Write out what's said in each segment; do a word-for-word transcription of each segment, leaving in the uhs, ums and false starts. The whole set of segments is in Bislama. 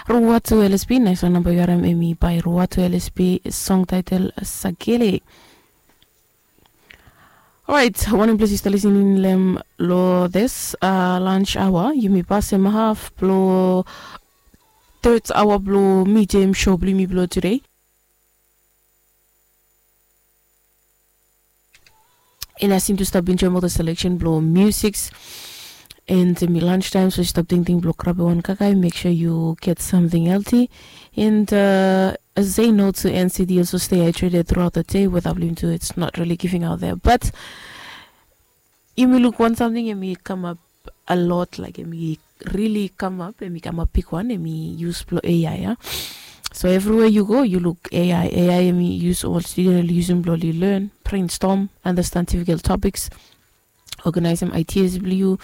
Ruatu L S P, naiswan namba yu harim hemi by Ruatu L S P, song title Sakele. Orait, wanem ples yu stap lisening long hem long this uh, lunch hour, yumi pasem haf blong third hour blong medium show blong yumi blong today. And I seem to stop enjoying all the selection blong musics. And hemi lunch time, so yu stap tingting blong grab wan kakae, make sure you get something healthy. And uh, say no to N C D, also stay hydrated throughout the day. Weather blong yumi tu, it's not really giving out there. But yumi luk wan samting hemi kamap a lot, like hemi really kamap, hemi kamap bigwan, hemi use blong A I, ya. So everywhere you go, you look A I. A I hemi use, ol student oli yusum blong oli learn, brainstorm, understand difficult topics, organizem ideas blong yu.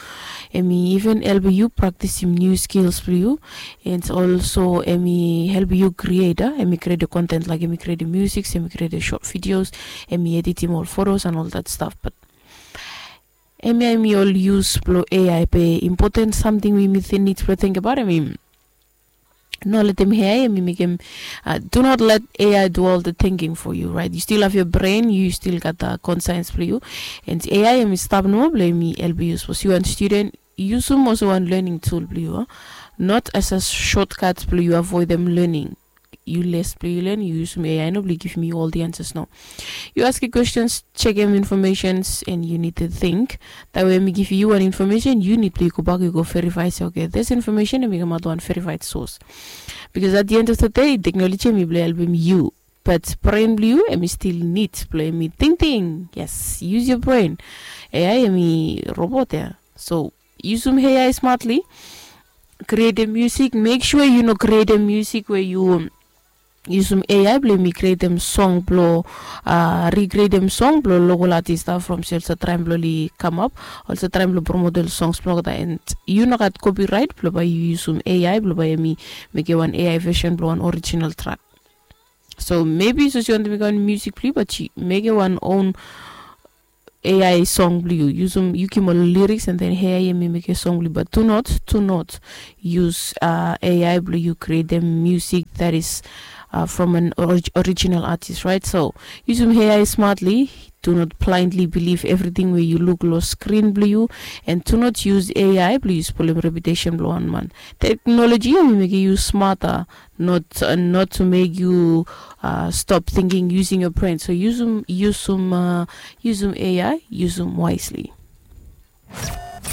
Hemi even helpem yu praktisim new skills blong yu. And also hemi helpem yu create, ah, hemi create content, like hemi create music, hemi create short videos, hemi editim ol photos and all that stuff. But hemia hemi ol use blong A I, be important samting we yumi nid blong tingbaot hemi no letem A I hemi mekem, uh, do not let A I do all the thinking for you, right? You still have your brain, you still gat the conscience blong yu. And A I hemi stap nomo blong hemi helpem yu, sapos yu wan student, yusum olsem wan learning tool blong yu, ah, not as a shortcut blong yu avoidem learning. Yu les blong yu learn, yu yusum A I nomo blong givim yu ol the answers, no. Yu askem questions, jekem informations, and yu nid to think. That way hemi givim yu wan information, yu nid blong yu gobak yu go verify se, okay, this information hemi kamaot wan verified source. Because at the end of the day, technology hemi blong helpem yu, but brain blong yu hemi still nid blong hemi tingting. Yes, use your brain. A I hemi robot, ya. So yusum A I smartly. Createm music, make sure yu no createm music we yu yusum A I blong hemi createm song blong, uh, recreatem song blong local artist, ah, from se oli save traem blong oli kamap, oli save traem blong promotem ol songs blong olgeta, and yu no gat copyright blong bae yu yusum A I blong bae hemi mekem wan A I version blong wan original track. So maybe sapos yu wantem mekem wan music blong yu, but yu mekem wan own A I song blong yu, yusum, yu givim ol lyrics and then A I hemi mekem song blong yu. But do not, do not use, uh, A I blong yu createm music that is, uh, from an orig-, original artist, right? So yusum A I smartly. Do not blindly believe everything we yu luk long screen blong yu, and do not use A I blong yu spolem reputation blong wan man. Technology hemi mekem yu smarter, not, uh, not to make you, uh, stop thinking using your brain. So yusum, yusum, uh, yusum A I, yusum wisely.